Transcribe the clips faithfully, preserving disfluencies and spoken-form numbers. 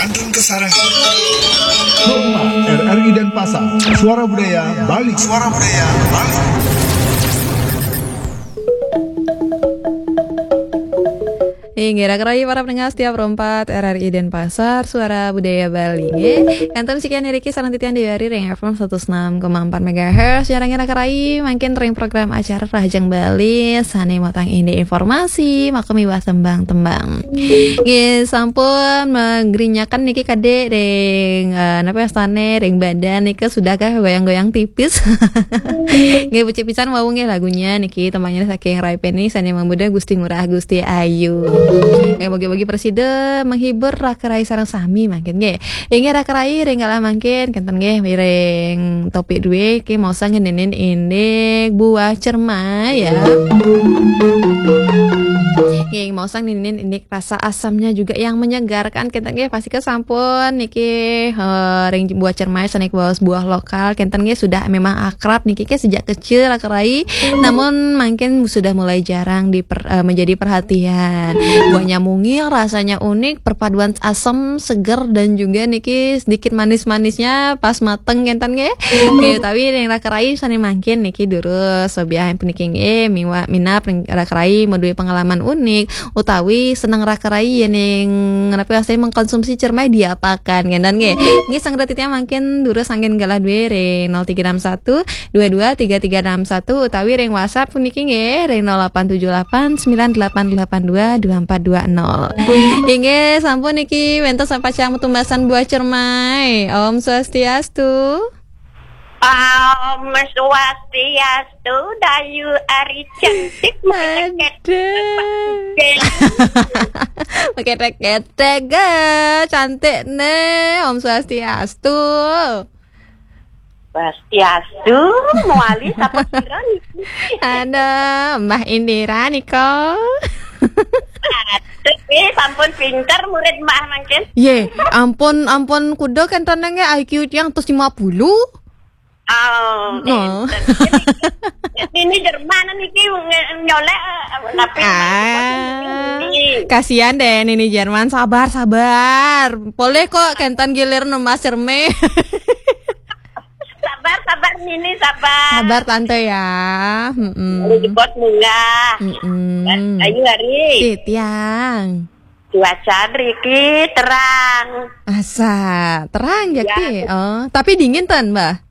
Antun Kasarang. Rumah R R I Denpasar. Suara Budaya Bali. Suara Budaya Bali. Inggih, raka rayi para pendengar setia Pro empat R R I Denpasar, Suara Budaya Bali. Nggih. Kantun sekian niki sareng titiang Dewi Ari ring F M seratus enam koma empat megahertz. Sareng raka rayi mangkin ring program acara Rahajeng Bali sane matang indik informasi, maka miwah tembang-tembang. Nggih, sampun magrinyakan niki kadek ring, eh, napa wastane, ring badan nika sudahkah goyang-goyang tipis? Nggih, becik pisan wau nggih lagunya niki, tembangnya saking Ray Peni, sane mamuda Gusti Ngurah Gusti Ayu. Nggih, mugi-mugi prasida menghibur raka rayi sareng sami mangkin nggih. Inggih raka rayi ring galah mangkin, kenten nggih, ring topik due, ki mau sang ngeninin indik buah cermai ya. Nggih, mau sang ngeninin indik rasa asamnya juga yang menyegarkan. Kita nggih pasti ke sampun niki, eh, ring buah cermai sané baos buah lokal. Kenten nggih sudah memang akrab niki ke sejak kecil raka rayi. Namun mungkin sudah mulai jarang diper-, eh, menjadi perhatian. Buahnya mungil, rasanya unik, perpaduan asam, seger dan juga niki sedikit manis-manisnya pas mateng kenten nggih. Nggih, tapi ring raka rayi sané mangkin niki durus sobiah puniki nggih miwa-, minab ring raka rayi madué pengalaman unik utawi seneng raka rayi yén ing ngenepi wastané mengkonsumsi cermai diapakan, kénten nggih. Nggih, sang titiang mangkin durus anggen galah dué ring nol tiga enam satu dua dua tiga tiga enam satu utawi ring WhatsApp puniki nggih ring nol delapan tujuh delapan sembilan delapan delapan dua dua empat dua nol. Inggih, sampun niki wénten sampacang tumbasan buah cermai. Om Swastiastu. Om Swastiastu, Dayu Ari cantik. Aduh. Pakai ketek, eh, cantik nih. Om Swastiastu. Swastiastu, mawali sapa sira niki? Ada Mbah Indira nika. Aduh, eh, sampun pinter murid Mbah mangkin. Ye, ampun, ampun, kuda kenten nggih I Q tiang atus lima puluh. Oh, no. Nini Jerman niki nge-, nyolek, eh, tapi Ah, ini. Kasihan deh Nini Jerman, sabar, sabar. Boleh kok kenten gilir nemas cerme. Sabar, sabar Nini, sabar. Sabar tante ya. Mm-mm. Kalau jebot munggah. Mm-mm. Ayu hari. Titiang. Cuaca riki terang. Asa, terang ya, ya. Ki? Oh, tapi dingin ten, Mbah?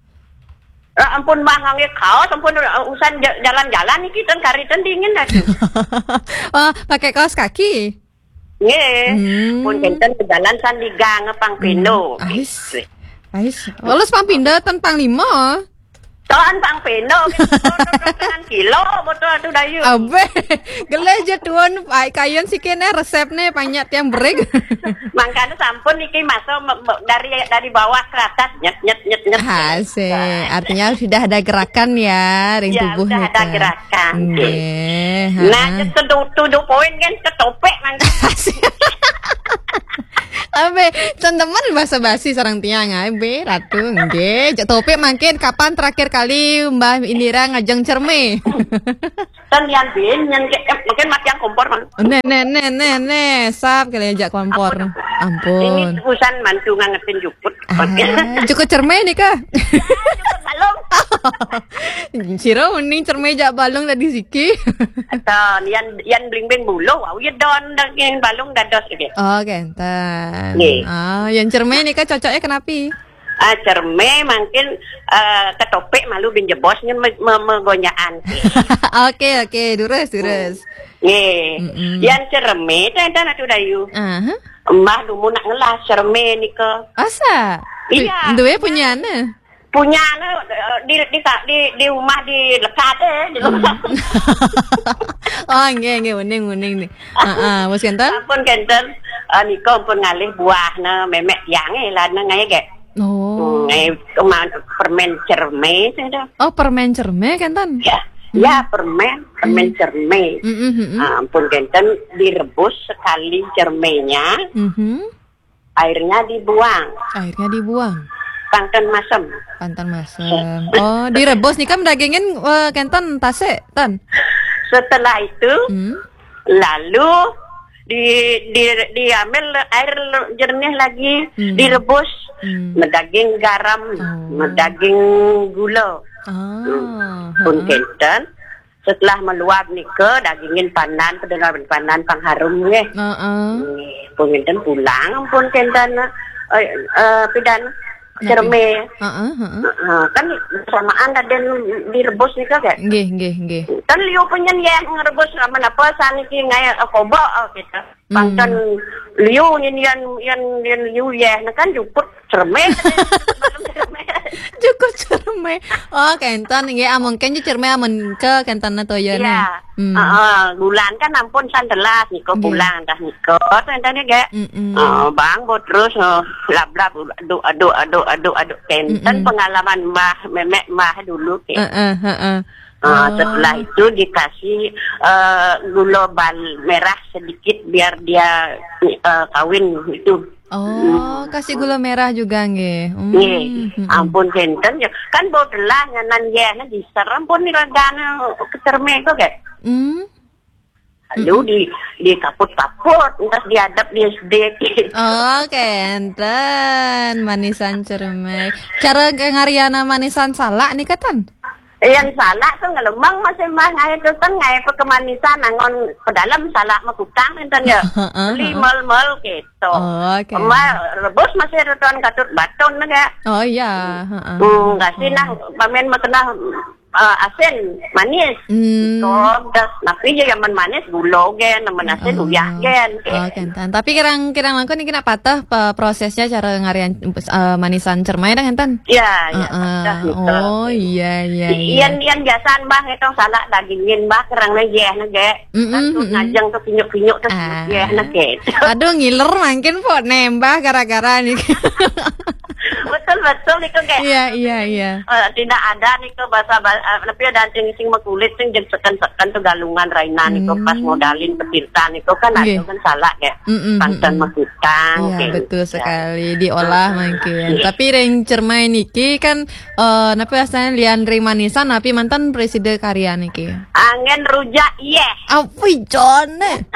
Ya ampun, Mbah, ngangge kaos, ampun, usan ja-, jalan-jalan niki ten kari ten dingin dah. Oh, pakai kaos kaki? Nggih. Hmm. Pun kenten jalan sandigang pang pindho. Hmm, ais. Ais. Walus pang pindho ten pang lima. Ton pang pindho, gitu. Dengan kilo, betul tuh Dayu. Abe, geleh je tuun, ai, kayun siki nih resepnya banyak tiang berik. Makanya sampun niki masuk me-, me-, dari, dari bawah ke atas, nyet, nyet, nyet, nyet. Asik. Artinya sudah ada gerakan ya, ring ya, tubuh sudah nika. Ada gerakan. Nggih. Nah, ha. Tujuh, tujuh poin kan ketopek mangga. Asik. Abe, ten temen basa-basi sareng tiang, abe, Ratu, nggih. Cek topik mangkin kapan terakhir kali Mbah Indira ngajeng cerme? Ten yan bin, yan ke, eh, mungkin mati yang kompor, Mang. Nih, nih, nih, nih, nih, sap kali ajak kompor. Ampun. Ampun. Ini urusan mantu ngangetin jukut. Ah, jukut cerme nih kah? Jukut balung. Sira mending cerme jak balung tadi siki. Ten, yan, yan bling-bling bulu, wau ya don daging balung dados iki. Oh, kenten. Nggih. Ah, yang cerme nih kah cocoknya kenapi? Ah, cerme mungkin, eh, ketopik malu bin jebos nyen me-, me-, megonjaan. Oke, oke, durus, durus. Nggih. Mm-mm. Yang cerme tenten Atu Dayu. Aha. Mbah dumun nak ngelah cerme nika. Asa? Iya. Du-, duwe punyane? Punyane, eh, di, di, di, di rumah di lekat, eh, di rumah. Hmm. Oh, nggih, nggih, uning, uning nih. Heeh, wis kenten? Sampun kenten, eh, nika pun ngalih buahne memek tiange, eh, lana ngae, gek. Oh. Hmm, eh, kema-, permen cerme, saya dah. Oh, permen cerme, kenten? Ya. Hmm. Ya, permen, permen cerme. Hmm, hmm, hmm. Ah, ampun kenten, direbus sekali cermenya. Mhm. Airnya dibuang. Airnya dibuang. Pang ten masem. Pang ten masem. Oh, direbus nih kan dagingin, eh, kenten tasik, ten? Setelah itu, hmm, lalu di di diambil air jernih lagi, hmm, direbus, hmm, medaging garam, oh, medaging gula. Ah, pun kenten. Setelah meluap nika, dagingin pandan, pedengar pandan pangharum nggih. Heeh. Nggih, pun kenten pulang, pun kenten, eh, eh, pidan cerme. Heeh, heeh. Heeh, kan samaan tadi direbus nika kan? Nggih, nggih, nggih. Kan liu penyen ya ngerebus sama apa saniki ngai, eh, kobok, eh, gitu. Hmm. Pangton liu nyen yan yan yan liu ya, nah kan cukup cerme. Cukup cerme. Oh, kenten nggih, ah, mungkin je cerme amun ke kenten na toya. Iya. Hmm. Heeh, gulan kan ampun sandelas niko. Nggih. Pulang dah niko. Kenten ya, Gek. Mm-mm. Oh, bang bo terus, oh, lab-lab aduk aduk aduk aduk aduk kenten. Mm-mm. Pengalaman mbah, memek mbah dulu ke. Heeh, heeh. Ah, oh, setelah itu dikasih, eh, gula bal merah sedikit biar dia, eh, kawin itu. Oh, hmm, kasih gula merah juga nggih. Hmm, nggih. Mm-mm. Ampun kenten ya. Kan bau telah nganan ya, nah diserem pun ni ragana kecerme tu, Gek. Hmm. Lalu, mm-mm, di dikaput-kaput, terus diadap di S D. Oh, kenten. Manisan cerme. Cara ngariana manisan salak ni katan? Yang salak tu ngelemang masih mah ngai tu kan ngai pe kemanisan angon pedalam salak mekutang enten ya. Heeh, beli heeh. Mal-mal gitu. Oh, oke. Emak rebus masih ada tuan katut baton nega. Oh, iya. Heeh. Hmm, kasih nah, pamen makenah, eh, asin, manis. Hmm. Todas, tapi je yang manis gula gen, yang asin uyah gen. Oh, kenten. Tapi kirang-kirang langkun niki nak patah pe-, prosesnya cara ngarian, eh, manisan cermai dah kenten? Ya, ya, heeh, patah gitu. Oh, iya, iya, iya. Ian, ian biasaan bah itu salak dagingin bah kerang lagi ya nege. Mm-mm, satu mm-mm. Ngajeng tu pinyuk-pinyuk tu. Ah. Ya, nak ke. Aduh, ngiler makin po nembah gara-gara ni. Betul, betul, niku, Kak. Iya, iya, iya. Eh, tidak ada niku bahasa ba-, eh, tapi ada sing, sing makulit, sing jeg seken-seken tu galungan raina niku, pas, hmm, modalin petirta niku kan, nggih, ada kan salak, Kak. Mm-mm, pangton, mm-mm. Makutang, iya, kayak betul gitu. Sekali. Diolah, ah, mungkin. Tapi ring cermai niki kan, eh, napa asalnya lian ring manisan, tapi mantan presiden karya niki. Angin rujak, iya. Apa jone?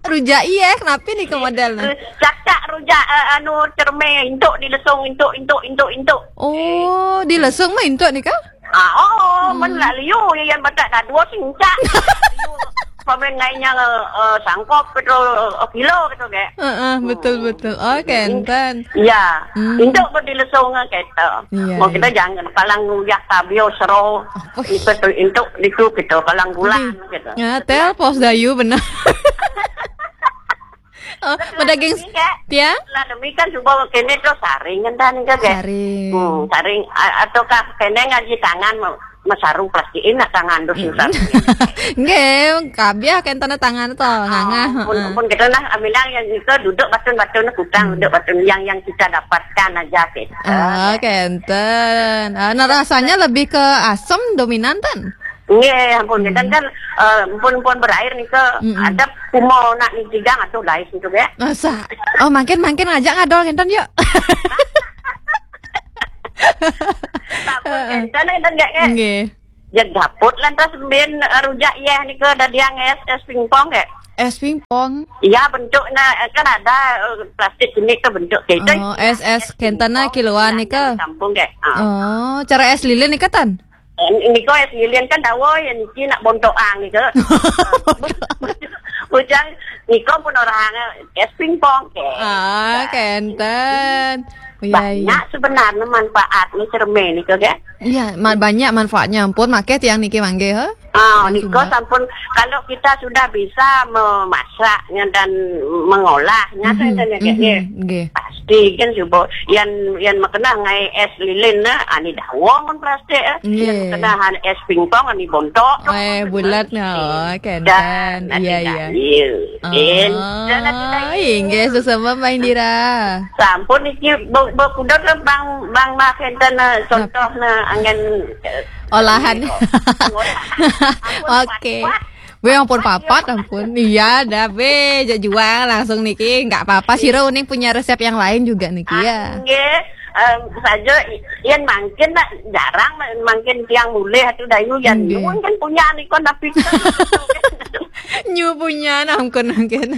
Rujak iya, kenapa ni ke model ni? Cakak rujak, eh, anu, cerme, intuk dilesung, intuk, intuk, intuk, intuk. Oh, dilesung mah intuk ni kah? Ah, oh, hmm. Men lah liu, ya, yang batak dah dua singcak. Pamen ngainya, eh, sangkop gitu, eh, kilo gitu, Kak. Heeh, betul, betul. Oh, kenten. Ya, hmm. Intuk pun dilesung gitu. Iya, mau kita iya. Jangan palang nguyak tabio sero. Apa? Itu tu intuk itu gitu, palang bulan gitu. Ya, tel pos dayu benar. Oh, medaging tiang? Lah demikian coba kene tu saring kan, Kak. Saring. Hmm, saring, a-, ataukah kene ngaji tangan mau mesaru plastikin nak tangan tu susah. Nggih, kabiah kan tanda tangan tu, ngangah. Ah, pun, heeh. Pun kita nah bilang yang itu duduk batun-batun kutang, hmm. Duduk batun yang, yang kita dapatkan aja gitu. Ah, kenten. Ah, nah, rasanya lebih ke asam dominan, tan? Nggih, ampun, hmm. Kita kan, eh, pun, pun berair ni ke, mm-mm. Ada kumo nak ni tigang atau lain tu ya. Masa? Oh, makin, makin aja ngadol kenten yuk. Tak pun kenten, kenten, Kak, Kak. Nggih. Ya dapur lantas ben, eh, rujak ya ni ke dadiang es, es pingpong, Kak. Es pingpong? Iya, bentuknya, eh, kan ada, eh, plastik ini ke bentuk kayak itu. Oh, es, es kenten na kiloan ni ke? Kampung, Kak. Ah. Oh, cara es lilin ni ke, tan? Eh, niko es lilin kan dawa ya niki nak bontoang niko. Bujang niko pun orang es pingpong ke. Ah, kenten. Iya, iya. Banyak sebenarnya manfaatnya cermin niko, Kak. Iya, ma-, banyak manfaatnya. Ampun, makai tiang niki mangge, ha? Ah, niko sampun kalau kita sudah bisa memasaknya dan mengolahnya, mhm, saya tanya, mhm, nggih. Pasti kan coba yang, yang makena ngai es lilin na, ani dawa mun plastik, eh. Nggih. Yang makena han es pingpong, ani bontok. Eh, bulat na, oh, kenten. Iya, iya. Oh, inggih, sesama Mbak Indira. Sampun iki bu-, bu-, pundut ke Bang, Bang Mak kenten, eh, contoh na angen, eh, olahan. Oke. Be, ampun, papat, ampun. Iya, dah, be, ja-, jual langsung niki. Nggak apa-apa, sira uning punya resep yang lain juga niki, ya. Ah, nggih. Em, saja i-, yen mangkin nak jarang ma-, mangkin tiang mulih atu dayu yen nuwun kan punya niku tapi Nyu punya nangkun mungkin.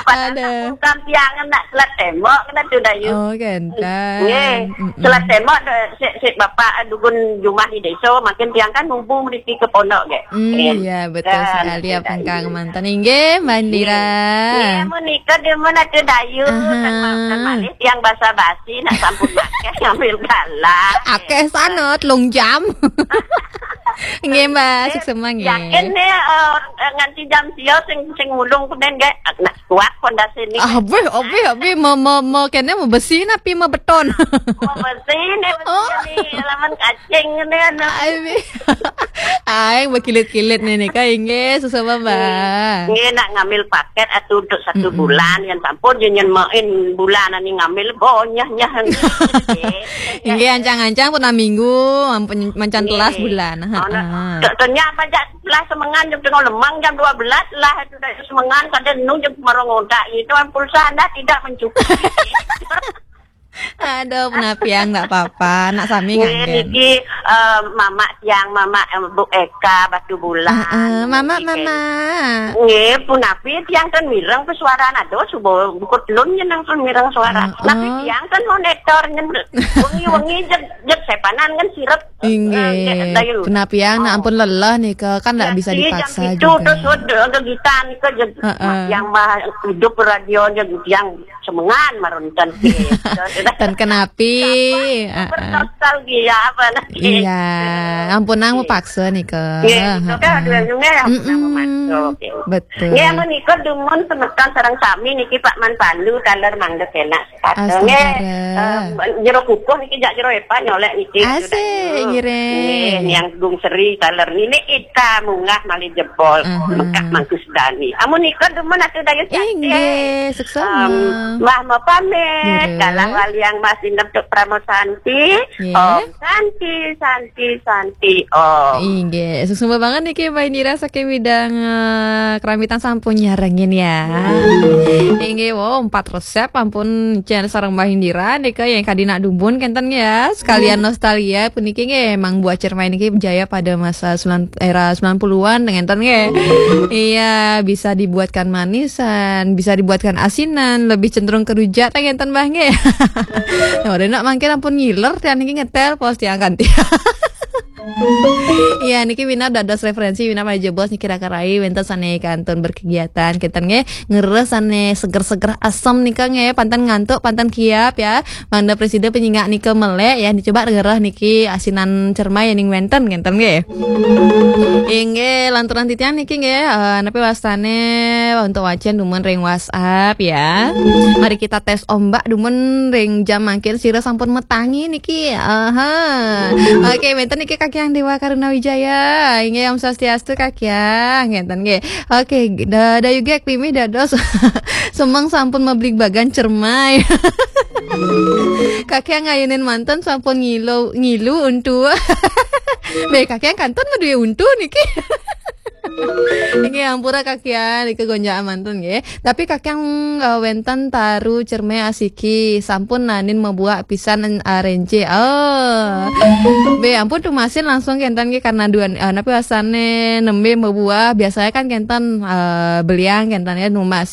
Ada. Bukan tiang nak selat tembok kena tu dayu. Oh, kan. Nggih, selat tembok de- sik sik bapak dugun jumah di desa, makin tiang kan nubu mriki ke pondok ge. Hmm, ya, betul sekali apa engkang mantan. Inggih, Mbak Indira. Nggih, menika demen ada dayu. Aha. Dan ma- dan malih tiang basa-basi nak sampun akeh ngambil galah. Akeh sangat, telung jam. Nggih, Mbak, suksema nggih. Yakin nih, eh, nganti jam sia sing sing mulung kenen ge. Nak kuat pondasi ni. Ah, obeh, obeh, obeh, mau, mau, mau kene mau besi napi mau beton? Mau besi ni, besi ni, laman kacing ni, anu. Ai, ai, berkilit-kilit ni, ni, ka inggih, suksema, Mbak. Nggih, nak ngambil paket atau untuk satu bulan, yang sampun je nyen main bulan ni ngambil bonyah nyah. Inggih, ancang-ancang pun minggu, mancan telas bulan. Heeh. Tanya apa jak lah semengan jam tengah lemang jam dua belas lah itu dari semengan kada nu jam marong otak itu kan pulsa anda tidak mencukupi. Aduh, penapiang ndak apa-apa, nak sami nganggen. Niki eh, mamak tiang, mamak eh, Bu Eka Batu Bulan. Heeh, mamak, mamak. Nggih, punapi tiang kan mireng pesuaran aduh subuh bukut lun nyenang kan mireng suara. Tapi tiang kan monitor nyen wengi-wengi jeg jeg sepanan kan sirep. Inggih. Kenapiang nak ampun lelah nih ke kan ndak bisa dipaksa juga. Terus udah kegiatan ke yang mah hidup radio aja yang semengan marunten. Dan kenapi. Nostalgia apa lagi? Iya, ampun nang mepaksa nih ke. Iya, itu kan ada yang ya. Betul. Ya menikah dumun semeton sareng sami niki Pak Man Pandu taler mangga enak. Astagfirullah. Jero kukuh niki jak jero epa nyolek niki. Asik, ngiring. Nggih, niang Gung Seri taler nini ita munggah malih jebol. Mekak mangkus dani. Amun nika demen atuh dayus. Inggih, suksema. Mbah mau pamit. Kalah waliang Mas Indem Tuk Pramo Santi. Om Santi, Santi, Santi, Om. Inggih, suksema banget niki Mbak Indira saking bidang eh, keramitan sampun nyarengin ya. Inggih, wow, empat resep ampun Chen sareng Mbak Indira nika yang kadi nak dumun kenten ya. Sekalian nostalgia puniki nggih emang buat cermai niki berjaya pada masa sembilan, era sembilan puluhan dengan nggih. Iya, bisa dibuatkan manisan, bisa dibuatkan asinan, lebih cenderung ke rujak ta ngenten Mbah nggih. Nah, udah nak mangkin ampun ngiler tiang niki ngetel pos tiang kan tiang. Iya, niki Wina dados referensi Wina malih jebos niki raka rai wenten sane kantun berkegiatan kenten nggih ngeres sane seger-seger asem nika nggih panten ngantuk panten kiap ya. Mangda presida penyingak nika melek ya dicoba ngereh niki asinan cermai ning wenten kenten nggih. Inggih lanturan titiang niki nggih eh, napi wastane untuk wacen dumun ring WhatsApp ya. Mari kita tes ombak dumun ring jam mangkin sira sampun metangi niki. Aha. Oke, wenten niki Kak Yang Dewa Karuna Wijaya. Inggih Om Swastiastu Kak Yang. Ngenten nggih. Oke, da, da juga klimih dados semeng sampun meblig bagan cermai. Kak Yang ngayunin manten sampun ngilu ngilu untu. Be Kak Yang kantun ngeduwe untu niki. Inggih ampura Kak Yang niki gonjaan manten nggih. Tapi Kak Yang eh, wenten taru cerme asiki sampun nanin mebuak pisan eh, renje. Oh. Be ampun tumasin langsung kenten nggih karena dua eh, napi wasane nembe mebuak biasanya kan kenten eh, beliang kenten ya numasin